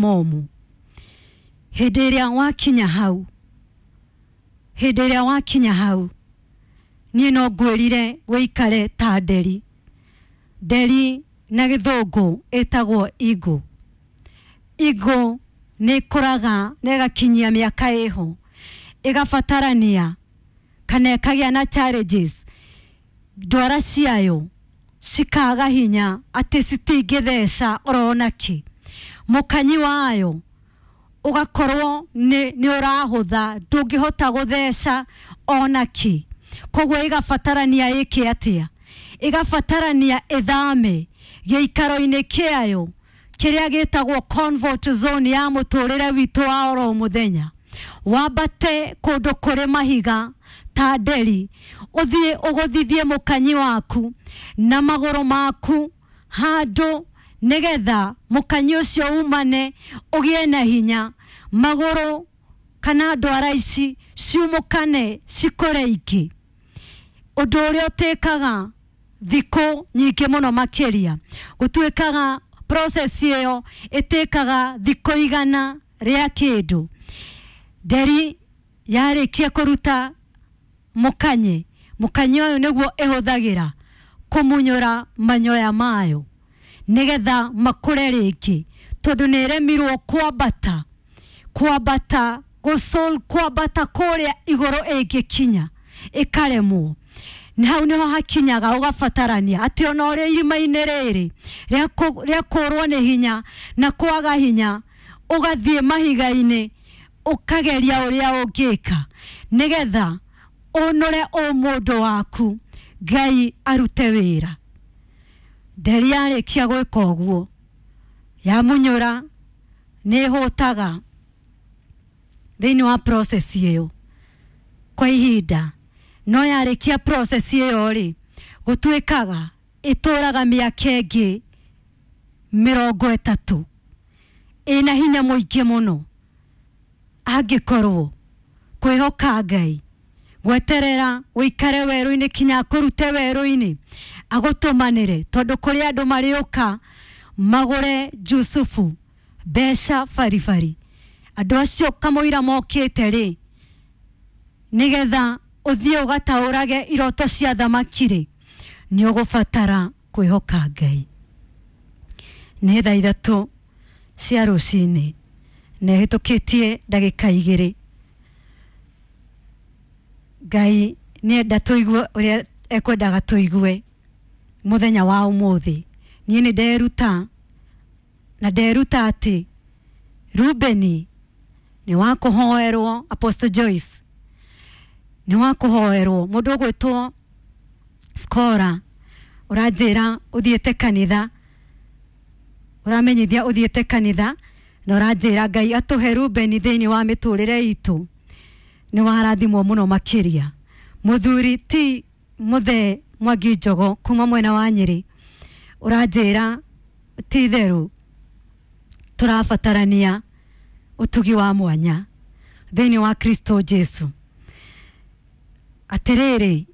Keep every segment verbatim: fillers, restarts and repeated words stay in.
Momũ. Hĩndĩ ĩrĩa wakinya hau, hĩndĩ ĩrĩa wakinya hau, niĩ no ngwĩrire wĩikare ta nderi. Nderi na gĩthũngũ ĩtagwo eagle. Eagle nĩ ĩkũraga na ĩgakinyia mĩaka ĩho, ĩgabatarania kana ĩkagĩa na challenges, ndwara ciayo cikaga hinya atĩ citingĩtheca orona kĩ. Mũkanyi wayo ũgakorwo nĩ nĩ ũrahũtha, ndũngĩhota gũtheca ona kĩ. Koguo ĩgabatarania ĩke atĩa? Ĩgabatarania ĩthame gĩikaro-inĩ kĩayo kĩrĩa gĩtagwo comfort zone ya mũtũrĩre witũ wa oro mũthenya, wambate kũndũ kũrĩ mahiga ta nderi, ũthiĩ ũgũthithie mũkanyi waku na magũrũ maku handũ nĩgetha mũkanyi ũcio umane ũgĩe na hinya, magũrũ kana ndwara ici ciumũkane cikũre ingĩ. Ũndũ ũrĩa ũtĩkaga thikũ nyingĩ mũno makĩria, gũtuĩkaga process ĩyo ĩtĩkaga thikũ igana rĩa kĩndũ. Nderi yarĩkia kũruta mũkanye, mũkanye ũyũ nĩguo ĩhũthagĩra kũmunyũra manyoya mayo nĩgetha makũre rĩngĩ, tondũ nĩ ĩremirwo kwambata, kwambata gũcol, kwambata kũrĩa igũrũ ĩngĩkinya ĩkaremwo. Nĩ hau nĩho hakinyaga ũgabatarania atĩ ona ũrĩ irima-inĩ rĩrĩ rĩa kũrwo nĩ hinya na kwaga hinya, ũgathiĩ mahiga-inĩ ũkageria ũrĩa ũngĩka nĩgetha ũnũre ũmũndũ waku Ngai arute wĩra. Nderi yarĩkia gwĩka ũguo, yamunyũra nĩ ĩhũtaga thĩinĩ wa process ĩyo kwa ihinda, no yarĩkia process ĩyo rĩ, gũtuĩkaga ĩtũraga mĩaka ĩngĩ mĩrongo ĩtatũ ĩna hinya mũingĩ mũno, angĩkorwo kwĩhoka Ngai, gweterera ũikare werũ-inĩ kinya akũrute werũ-inĩ agũtũmanĩre, tondũ kũrĩ andũ marĩũka magũre Jusufu mbeca baribari. Andũ acio kamũira mokĩte rĩ, nĩgetha ũthiĩ ũgataũrage iroto cia thamaki rĩ, nĩ ũgũbatara kwĩhoka Ngai. Nĩ thaa ithatũ cia rũcinĩ na ĩhĩtũkĩtie ndagĩka igĩrĩ. Ngai nĩenda tũigue ũrĩa ekwendaga tũigue mũthenya wa ũmũthĩ. Niĩ nĩ nderuta na nderuta atĩ Rubeni nĩ wa kũhoerwo, Apostle Joyce nĩ wa kũhoerwo. Mũndũ ũgwĩtwo Scora ũranjĩra ũthiĩte kanitha, ũramenyithia ũthiĩte kanitha na ũranjĩra Ngai atũhe Rubeni thĩinĩ wa mĩtũrĩre itũ, nĩ warathimwo mũno makĩria. Mũthuri ti Mũthee Mwangi Njogo kuma mwena wa Nyĩrĩ ũranjĩra ti itherũ tũrabatarania ũtugi wa mwanya thĩinĩ wa Kristo Jesu. Atĩrĩrĩ,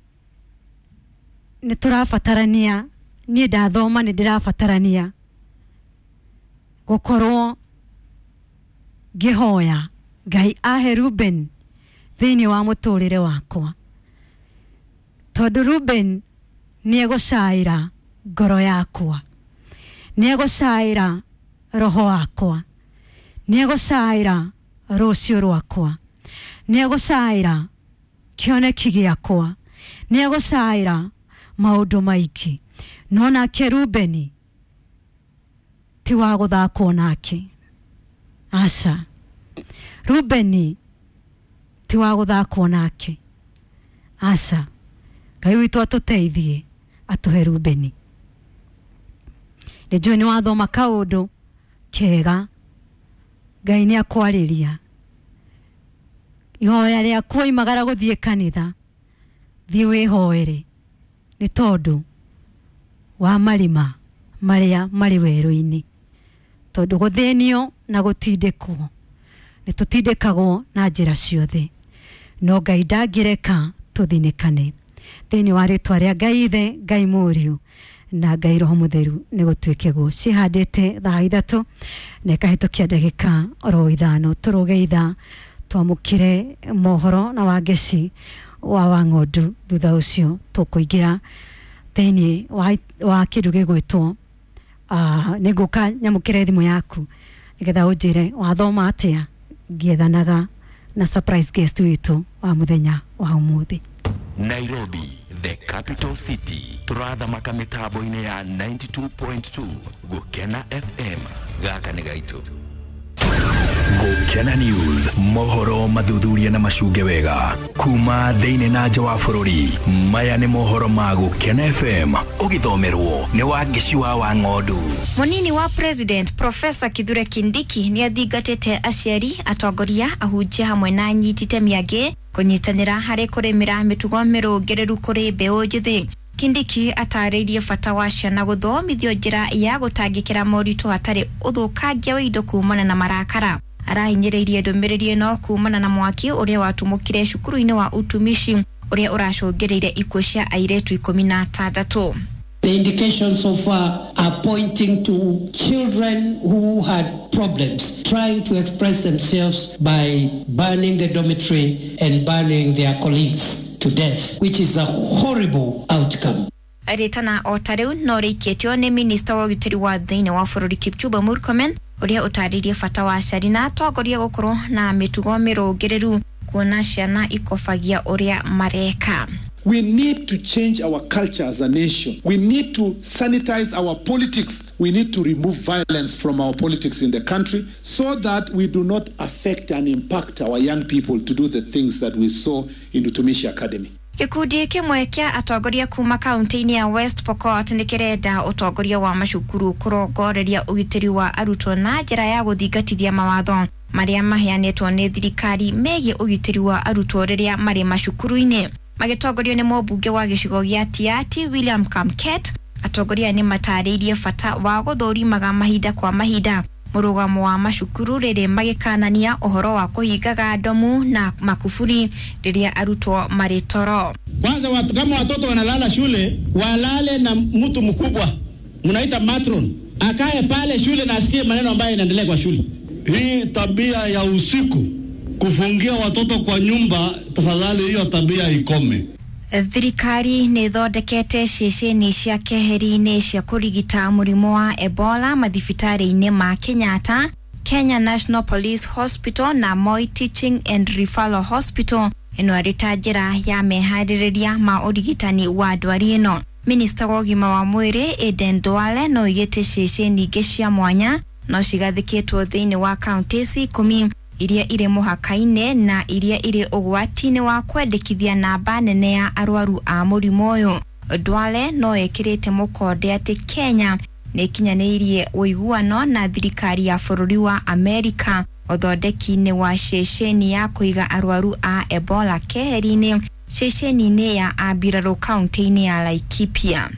nĩ tũrabatarania, niĩ ndathoma nĩ ndĩrabatarania gũkorwo ngĩhoya Ngai ahe Ruben thĩinĩ wa mũtũrĩre wakwa, tondũ Ruben nĩ egũcaĩra ngoro yakwa, nĩ egũcaĩra roho wakwa, nĩ egũcaĩra rũciũ rwakwa, nĩ egũcaĩra kĩoneki gĩakwa, nĩ egũcaĩra maũndũ maingĩ. No nake Rubeni ti wa gũthakwo nake, aca. Rubeni ti wa gũthakwo nake, aca. Ngai witũ atũteithie atũhe Rubeni. Nĩ njũĩ nĩ wathoma kaũndũ kega, Ngai nĩ akwarĩria. Ihoya rĩaku waimagara gũthiĩ kanitha, thiĩ wĩhoere nĩ tondũ wa marima marĩa marĩ werũ-inĩ, tondũ gũthĩnio na gũtindĩkwo nĩ tũtindĩkagwo na njĩra ciothe, no Ngai ndangĩreka tũthinĩkane. Thĩinĩ wa rĩtwa rĩa Ngai Ithe, Ngai Mũriũ na Ngai Roho Mutheru nĩ gũtuĩke guo. Cihandĩte thaa ithatũ na ĩkahĩtũkia ndagĩka oro ithano. Tũrũge ithaa twamũkĩre mohoro na Wangeci wa Wang'ondu. Thutha ũcio tũkũingĩra thĩinĩ wa, wa kĩndũ gĩgwĩtwo uh, nĩ ngũka nyamũkĩre thimũ yaku nĩgetha ũnjĩre wathoma atĩa ngĩethanaga na surprise guest witũ wa mũthenya wa ũmũthĩ. Nairobi, the capital city, turathamaka mitambo-inĩ ya ninety-two point two Gukena F M. Gaka nĩ gaitũ. Gukena News, mohoro mathuthuria na macunge wega kuma thĩinĩ na nja wa bũrũri. Maya nĩ mohoro ma Gukena F M, ũgĩthomerwo nĩ Wangeci wa Wang'ondu. Munini wa President Professor Kithure Kindiki nĩ athingatĩte aciari, atongoria, ahunjia hamwe na anyiti itemi angĩ kũnyitanĩra harĩ kũrĩmĩra mĩtugo mĩrũngĩrĩru kũrĩ mbeũ njĩthĩ. Kindiki atarĩirie bata wa ciana gũthomithio njĩra ya gũtangĩkĩra moritũ hatarĩ ũthũkangia wa indo kumana na marakara. Arahinyĩrĩirie ndũmĩrĩri ĩno kumana na mwaki ũrĩa watumũkire cukuru-inĩ wa utumishi ũrĩa ũracũngĩrĩire ikuũ cia airĩtu ikũmi na atandatũ. The indications so far are pointing to children who had problems trying to express themselves by burning the dormitory and burning their colleagues to death, which is a horrible outcome. Rĩtana o ta rĩu no rĩikĩtio nĩ minista wa ũgitĩri wa thĩinĩ wa bũrũri Kipchumba Murkomen ũrĩa ũtarĩirie bata wa aciari na atongoria gũkorwo na mĩtugo mĩrũngĩrĩru kuona ciana ikobagia ũrĩa mareka. We need to change our culture as a nation. We need to sanitize our politics. We need to remove violence from our politics in the country so that we do not affect and impact our young people to do the things that we saw in Utumishi Academy. Gĩkundi kĩmwe kĩa atongoria kuma kaunti-inĩ ya West Pokot nĩ kĩrenda ũtongoria wa macukuru kũrongoreria ũgitĩri wa arutwo na njĩra ya gũthingatithia mawatho marĩa maheanĩtwo nĩ thirikari megiĩ ũgitĩri wa arutwo rĩrĩa marĩ macukuru-inĩ. Magĩtongorio nĩ mũmbunge wa gĩcigo gĩa Tiaty William Kamket, atongoria nĩ matarĩirie bata wa gũthũrimaga mahinda kwa mahinda mũrũgamo wa macukuru rĩrĩ magĩkanania ũhoro wa kũhingaga ndomu na makuburi rĩrĩa arutwo marĩ toro. Kwanza watu, kama watoto wanalala shule walale na mtu mkubwa mnaita matron, akae pale shule na asikie maneno ambayo inaendelea kwa shule. Hii tabia ya usiku kufungia watoto kwa nyumba, tafadhali hiyo tabia ikome. Thirikari nĩ ĩthondekete ceceni cia keheri-inĩ cia kũrigita mũrimũ wa Ebola mathibitarĩ-inĩ ma Kenyatta, Kenya National Police Hospital na Moi Teaching and Referral Hospital. Ĩno ĩrĩ ta njĩra ya meharĩrĩria ma ũrigitani wa ndwari ĩno. Minista wa ũgima wa mwĩrĩ Aden Duale no oigĩte ceceni ingĩ cia mwanya no cigathĩkĩtwo thĩinĩ wa kaunti ikũmi iria irĩ mũhaka-inĩ na iria irĩ ũgwati-inĩ wa kwendekithia namba nene ya arwaru a mũrimũ ũyũ. Duale no ĩkĩrĩte mũkonde atĩ Kenya nĩ ĩkinyanĩirie ũiguano na thirikari ya bũrũri wa Amerika ũthondeki-inĩ wa ceceni ya kũiga arwaru a Ebola keheri-inĩ ceceni-inĩ ya Ambirarũ kaunti-inĩ ya Laikipia.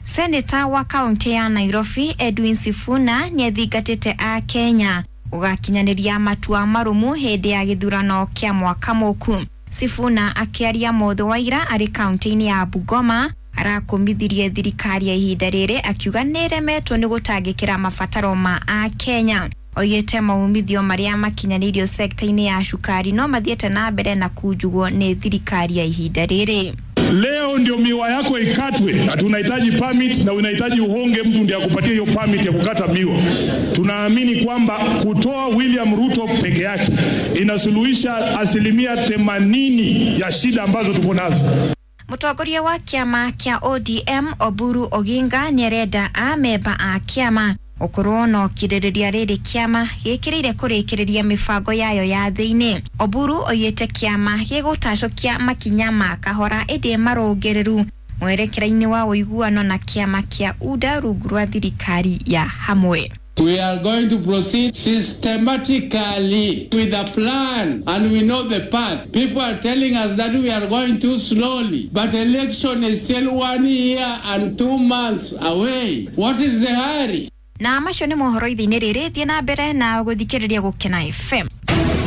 Seneta wa kaunti ya Nairobi Edwin Sifuna nĩ athingatĩte a Kenya gũgakinyanĩria matua marũmu hĩndĩ ya gĩthurano kĩa mwaka mũku. Sifuna akĩaria mũthĩ wa ira arĩ kaunti-inĩ ya Bungoma arakũmithirie thirikari ya ihinda rĩrĩ akiuga nĩ ĩremetwo nĩ gũtangĩkĩra mabataro ma a Kenya. Oigĩte maumithio marĩa makinyanĩirio sekta-inĩ ya cukari no mathiĩte na mbere na kunjugwo nĩ thirikari ya ihinda rĩrĩ. Leo ndio miwa yako ikatwe, ati unahitaji permit na unahitaji uhonge mtu ndiye akupatie hiyo permit ya kukata miwa. Tunaamini kwamba kutoa William Ruto peke yake inasuluhisha asilimia themanini ya shida ambazo tuko nazo. Mũtongoria wa kĩama kĩa O D M Oburu Oginga nĩarenda amemba a kĩama gũkorwo na ũkirĩrĩria rĩrĩ kĩama gĩkĩrĩire kũrĩkĩrĩria mĩbango yayo ya thĩinĩ. Oburu oigĩte kĩama gĩgũtacũkia makinya ma kahora ĩndĩ marũngĩrĩru mwerekera-inĩ wa ũiguano na kĩama kĩa U D A rungu rwa thirikari ya hamwe. We are going to proceed systematically with a plan, and we know the path. People are telling us that we are going too slowly, but election is still one year and two months away. What is the hurry? Na macio nĩ mohoro ithe-inĩ rĩrĩ, thiĩ na mbere na gũthikĩrĩria Gũkena F M.